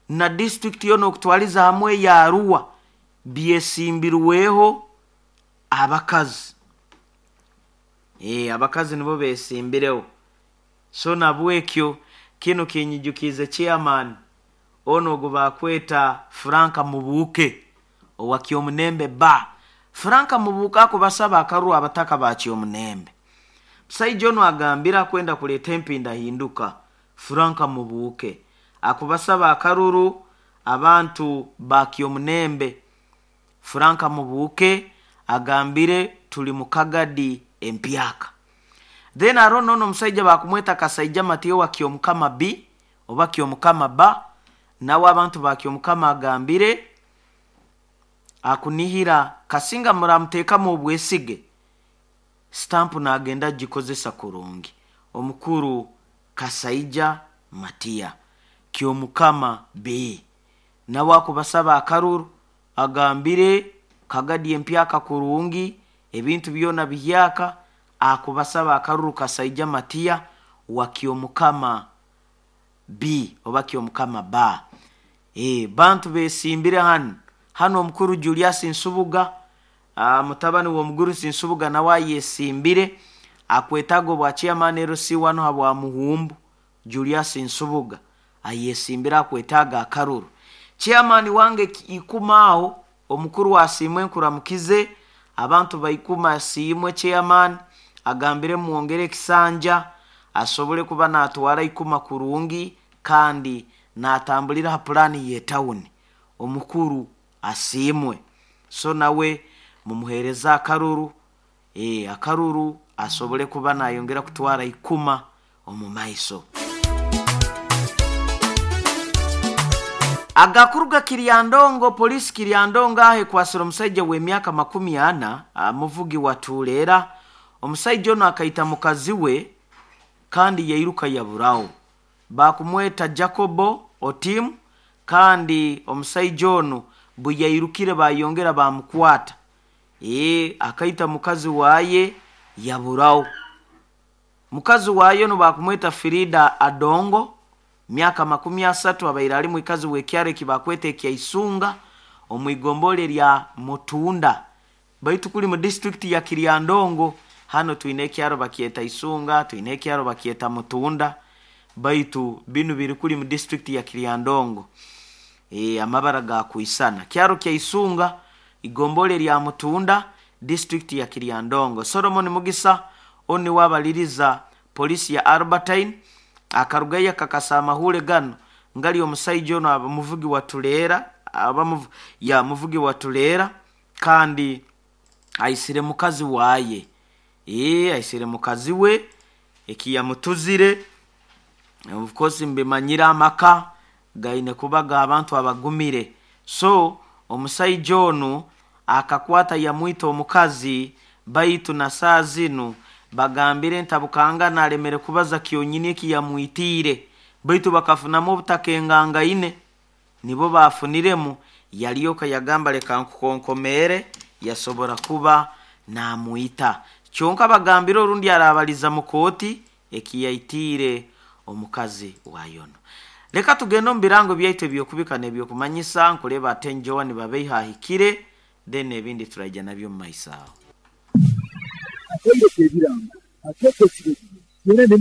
Na disitulikiti yoona okutwaliza hamwe eya Arua byesimbirweho abakazi. Abakazi nibo besimbireho. So nabwekyo kinu kinyijukiize chairman onu ogu bakweta Frank Mubuuke owa Kyomunembe Bar. Frank Mubuuke akubasaba akaruru abataka ba Kyomunembe. Musaija onu agambire akwenda kuleeta empindahinduka. Frank Mubuuke akubasaba akaruru abantu ba Kyomunembe. Frank Mubuuke agambire tuli mu Kagadi empyaka. Then haroho nono omusaija bakumweta Kasaija Matiyo wa Kyomukama B oba Kyomukama B, nawe abantu ba Kyomukama agambire akunihira kasinga muramuteekamu obwesige, stampu nagenda agikozesa kurungi. Omukuru Kasaija Matiya Kyomukama B nawe akubasaba akaruru, agambire Kagadi empyaka kurungi, ebintu byona bihyaka, akubasaba akaruru Kasaija Matiya wa Kyomukama B oba Kyomukama B. Bantu besimbire hanu. Hanu omukuru Julius Nsubuga, mutabani w'omugurusi Nsubuga nawe ayesimbire, akwetaaga obwa chairman LC1 habwa Muhumbu. Julius Nsubuga ayesimbire akwetaaga akaruru. Chairman wange Ikuma aho, omukuru asiimwe nkuramukize, abantu baikuma asiimwe chairman, agambire mwongere ekisanja, asobole kuba natwara Ikuma kurungi kandi natambulira ha pulaani y'etawuni. Omukuru asiimwe. So nawe mumuheereze akaruru, akaruru asobole kuba nayongera kutwara Ikuma omu maiso. Agakuruga Kiryandongo, polisi Kiryandongo aho ekwasire omusaija w'emyaka 40, muvugi wa Tuuleera. Omusaija onu akaita mukazi we kandi yairuka yaburaho. Bakumweta Jacobo Otim, kandi omusaija onu bwe yairukire bayongera bamukwata. Akaita mukazi waye yaburaho. Mukazi waye onu bakumweta Frida Adongo, myaka 30, abaire ali mwikazi w'ekyaro eki bakweta ekya Isunga omu igombole lya Mutunda, baitu kuli mu disitulikiti ya Kiryandongo. Hano twine ekyaro bakyeta Isunga, twine ekyaro bakyeta Mutunda, baitu binu biri kuli mu disitulikiti ya Kiryandongo. Amabara gakwisana. Kyaro kya Isunga, igombole lya Mutunda, disitulikiti ya Kiryandongo. Solomon Mugisa onu niwe abaliriza polisi ya Albertine, akarugayo akakasa amahule gano ngali omusaija ono aba muvugi wa Tuleera, aba ya muvugi wa Tuleera, kandi aisire mukazi waye. Aisire mukazi we ekiyamutuzire. Of course mbimanyire amaka gaine kuba g'abantu abagumire. So omusaija onu akakwata yamwita omukazi, baitu na saa zinu bagambire ntabukangana alemere kubaza kyonyini ekiyamwitiire, baitu bakafunamu obutakengangaine, nibo bafuniremu yalyoka yagamba leka nkukonkomeere, yasobora kuba namwita. Kyonka bagambire orundi arabaliza mu kooti ekiyaitiire omukazi wayono. Leka tugende omu birango byaitu ebyokubika n'ebyokumanyisa, nkureeba ate Joan Babeiha ahikire, then ebindi turaija nabyo omu maiso aho. Akaire k'ebirango akeekyo ekiro byona ne.